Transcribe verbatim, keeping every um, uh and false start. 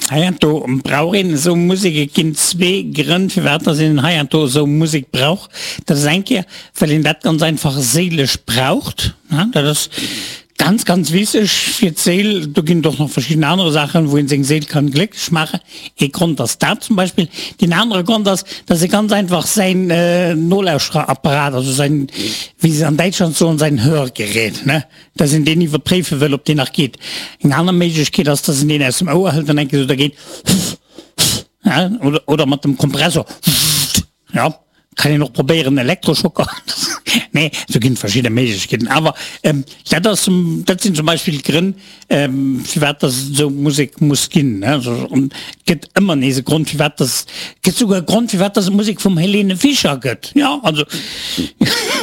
Heiansdo brauch een esou Musek. Et ginn zwee Grënn, firwat dass een heiansdo esou Musek brauch. Dat ass eng Kéier, well een dat ganz einfach séilesch braucht. Dat ass ganz, ganz wichteg fir d'Séil. Do ginn et och nach verschidden anere Saachen, wou een seng Séil kann glécklech maachen. Ee Grond ass dat zum Beispill. Deen anere Grond ass, dass ee ganz einfach säin Nolauschterapparat, also säin, wéi se an Däitschland soen, säin Hörgerät, ne, dass een deen iwwerpréife wëll, ob deen nach geet. Eng aner Méiglechkeet ass, dass een deen aus dem Ouer hëlt an eng Kéier esou da geet, ja, oder, oder mat dem Kompressor, ja. Kann een och probéieren, Elektroschocker, nee, do ginn et verschidde Méiglechkeeten. Awer dat ass, dat sinn zum Beispill d'Grënn, firwat dass et esou Musek muss ginn. An et gëtt ëmmer nees e Grond, firwat dass, et gëtt souguer e Grond, firwat dass et Musek vum Helene Fischer gëtt. Jo, also.